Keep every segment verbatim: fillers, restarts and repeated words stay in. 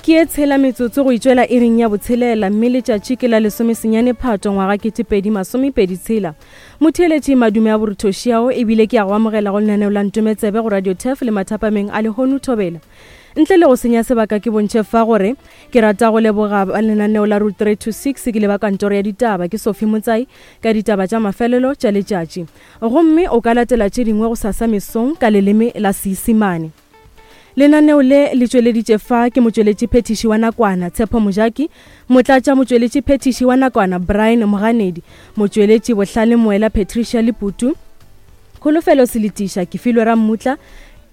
Ke ye tshela metsotso go itšwela iring ya botshelela mme letšatši ke la lesomesenyane Phato ngwaga ketepedi masomepedi tshela. Motheeletši madume a boruthošiao ebile ke a go amogela go lenaneo la Ntometsebe go Radio Turf le mathapameng a lehono thobela. Ntle le go senya sebaka ke bontšhe fa gore ke rata go leboga ba lenaneo la Route three two six ke leba kantoro ya ditaba ke Sophie Motsai ka ditaba tša mafelelo tša letšatši. Gomme o ka latela tše dingwe go sasa mesong ka leleme la Seisemane. Lenaneo le le tšweleditše fa ke motšweletši phethiši wa nakwana Tshepo Mojaki, motlatša motšweletši phethiši wa nakwana Brian Moganedi, motšweletši Bohlale Moela Patricia Leputu, Kholofelo Seletiša, Kefilwe Rammutla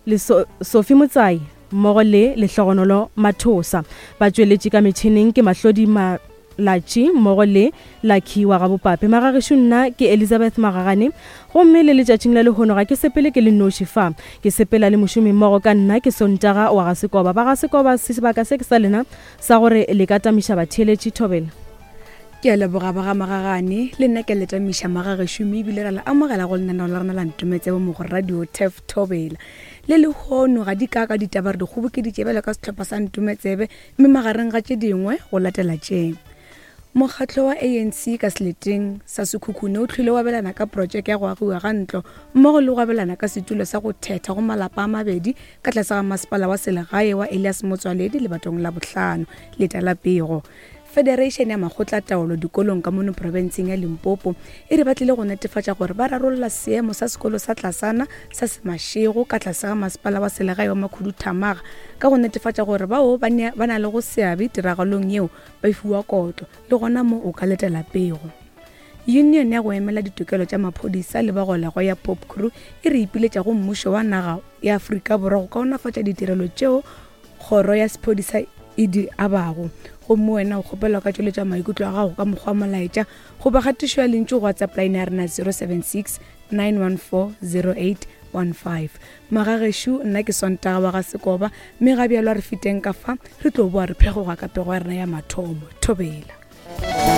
le so Sophie Motsai mmogo le Lehlogonolo Mathosa. Batšweletši ka metšhineng ke Mahlodi Malatši mmogo le Lucky wa Gabopape. Magagešo nna ke Elizabeth Magagane gomme le letšatšing la lehono ga ke sepele ke le noši fa. Ke sepela le mošomi mmogo ka nna ke Sontaga wa ga Sekoba. Ba ga Sekoba sebaka se ke sa lena sa gore le ka tamiša batheeletši thobela. Ke a leboga ba ga Magagane le nna ke le tamiša magagešo mme ebile ra le amogela go lenaneo la rena la Ntometsebe mo go Radio Turf Thobela. Le lehono ga di ka ka ditaba re di kgobokeditše bjalo ka sehlopha sa Ntometsebe mme magareng ga tše dingwe go latela tše. Mokgatlo wa A N C ka seleteng sa Sekhukhune o hlwile o abelana ka projeke ya go agiwa ga ntlo mmogo le go abelana ka setulo sa go thetha go malapa a mabedi ka tlase ga masepala wa selegae wa Elias Motswaledi lebatong la bohlano leta la pego. Federation ya makgotla taolo dikolong ka mono profenseng ya Limpopo e re ba tlile go netefatša gore ba rarolla seemo sa sekolo sa tlasana sa Semašego ka tlase ga masepala wa selegae wa Makhuduthamaga ka go netefatša gore bao ba na le go seabe tiragalong yeo ba fiwa kotlo le gona mo o ka letela pego. Union ya go emela ditokelo tša maphodisa le bagolego ya Pop Crew e re ipiletša go mmušo wa naga ya Afrika Borwa go kaonafatša ditirelo tšeo kgoro ya sephodisa e di abago. Gomme wena o kgopelwa ka tšweletša maikutlo a gago ka mokgwa wa molaetša goba kgatišo ya lentšu go WhatsApp line ya rena zero seven six nine one four zero eight one five. Magagešo nna ke Sontaga wa ga Sekoba mme ga bjalo a re feteng ka fa re tlo boa re phegoga ka pego ya rena ya mathomo. Thobela.